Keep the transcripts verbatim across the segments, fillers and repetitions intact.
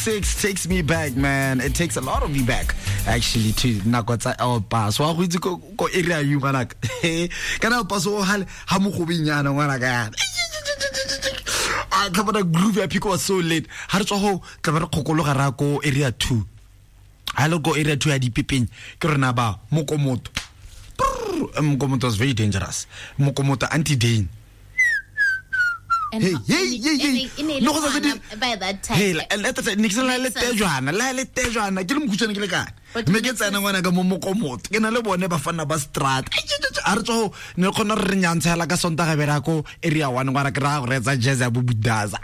six takes me back, man. It takes a lot of me back, actually, to nako tsa El Paso. Wa go itse ko ko area you ngwanaka. Kana El Paso hale ha mogobenyana ngwanaka. A tla bona groove ya Phikwe was so late. Ha re tswa ho tla ba re kgokologa ra ko area two. Ha le ko area two ya dipepeng ke rena ba mokomoto. Mokomoto was very dangerous. Mokomoto anti-dane. And Hey, how- hey, hey, hey. e ne e le No, go sa ngwana di- by that time. Hey, la- la- la- ne ke se la le tejwana, la le tejwana, ke le mokhutshwane ke le kae. But Mme ke tsena ngwana ka mo mokomoto. Ke na le bone bafana ba strat. Ai, tje, tje, tje, a re tswa ho, ne re kgona re re nyantshela ka Sontaga be re ya ko area one, ngwana ke raya go reetsa jazz ya bo Budaza.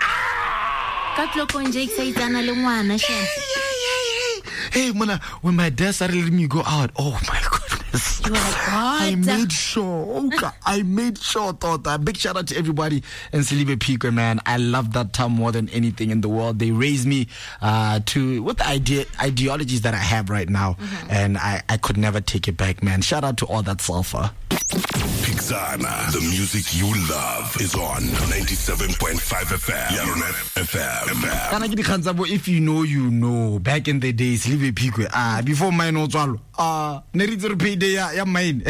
Ka tlokong Jake sa itsana le ngwana, shem. Hey, hey, hey, hey. Hey, mona, when my dad started letting me go out, oh my goodness. You were like, what? I made sure. Okay, I made sure, Tota. Big shout out to everybody in Selibe Phikwe, man. I love that town more than anything in the world. They raised me uh, to with the idea, ideologies that I have right now, Mm-hmm. and I, I could never take it back, man. Shout out to all that sulfur. Pixana, the music you love is on ninety-seven point five F M. Yarona F M. Kana ke dikgang tsa bo if you know, you know. Back in the days, Selibe Phikwe, ah, before mine o tswalwa, ah, ne re itse re payday ya, ya mine.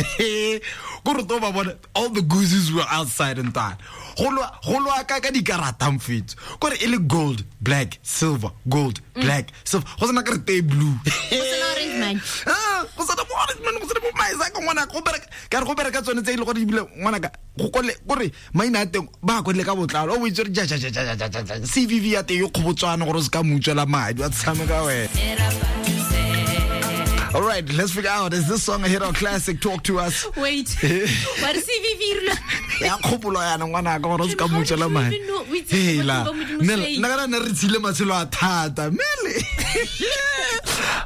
Ko re to ba bona, all the gooses were outside and that. Go lwa, go lwa ka ka dikarata mfetso. Ko re e le gold, black, silver, gold, black, silver. Go sena ka re tee blue. Go sena orange man. Ah, go sena bo orange man, go sena bo maisa ka ngwana, go bereka, ka re go bereka tsone tse e le gore ebile ngwana ka, go kole, gore maina a teng ba kwadile ka botlalo. O itse re ja, ja, ja, ja, ja, ja, ja, ja. C V V ya teng e kgobotswana gore o se ka mo utswela madi, wa tshameka wena. All right, let's figure out, is this song a hit or classic? Talk to us. Wait. What is C V V? Ya kgopolo yana ngwana ka gore o se ka How mo did utswela you madi. even know? Wait, Hela. what do you want me to Nna say? nna kana ne re tshile matshelo a thata. Mele.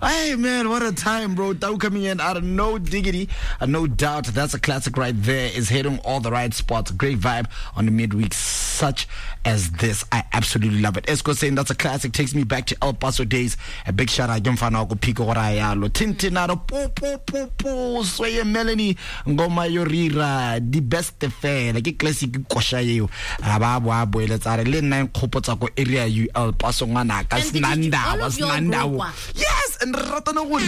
Hey man, what a time, bro. Tau coming in out of no diggity. Uh, no doubt that's a classic right there. Is hitting all the right spots. Great vibe on the midweek such as this. I absolutely love it. Esco saying that's a classic. Takes me back to El Paso days. A big shout out. Ke mfana wa ko Phikwe gore a yalo. Tintinaro po po po po. Sweye Melanie ngoma yorira di best fela. Ke classic kosha eo. A ba bo a boeletsa re le nna nkgopotsa ko area U El Paso ngwana ka And did you Snanda all wa of your Snanda. group wa? Yes, and re ratana gore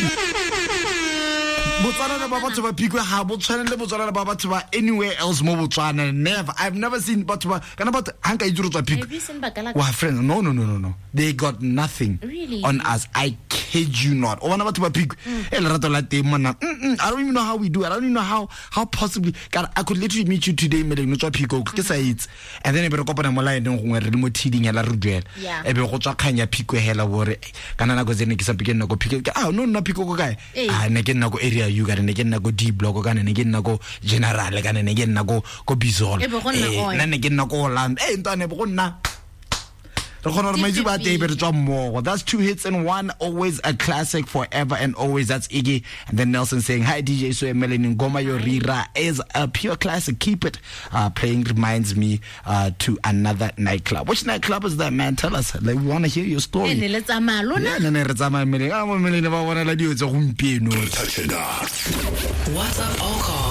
Botswana ba batho ba Phikwe ha bo tshwane le Botswana ba batho ba anywhere else mo Botswana. Never. I've never seen batho ba kana batho ha nka itse re tswa Phikwe. Have you seen Bakala? Wa friends, no, no, no, no, no. They got nothing Really? on us. I kid you not. O bona batho ba Phikwe. Mm. E lerato la teng mona. Mm-mm. I don't even know how we do it. I don't even know how, how possibly. God, I could literally meet you today, Meleng, no tswa Phikwe, ke sa itse. And then e be re kopana mo line gongwe re le mo thiding hela re duela. Yeah. E be go tswa kgang ya Phikwe hela bore. Kana nako tse ne ke sa ke nna ko Phikwe. Ke, ah, no, nna Phikwe ko kae? Ee. Ah, ne ke nna ko area U, kana ne ke nna ko D block, kana ne ke nna ko General, kana ne ke nna ko, ko Bizol. E be go nna Eh, oil. nna ne ke nna ko Orlando. Eh, ntwane, be go nna. Re kgona gore maitse ba teng be re tswa mmogo. That's two hits in one, always a classic forever and always. That's Iggy. And then Nelson saying, hi D J Soe Melanie, Ngoma Yorira is a pure classic. Keep it uh, playing. Reminds me, uh, to another nightclub. Which nightclub is that, man? Tell us. Like, we wanna hear your story. E ne le tsamaya lona? Yeah, ne ne re tsamaya mmeleng. Ah, mo mmeleng ba bona la dilo tse gompieno. Touch it up. WhatsApp or call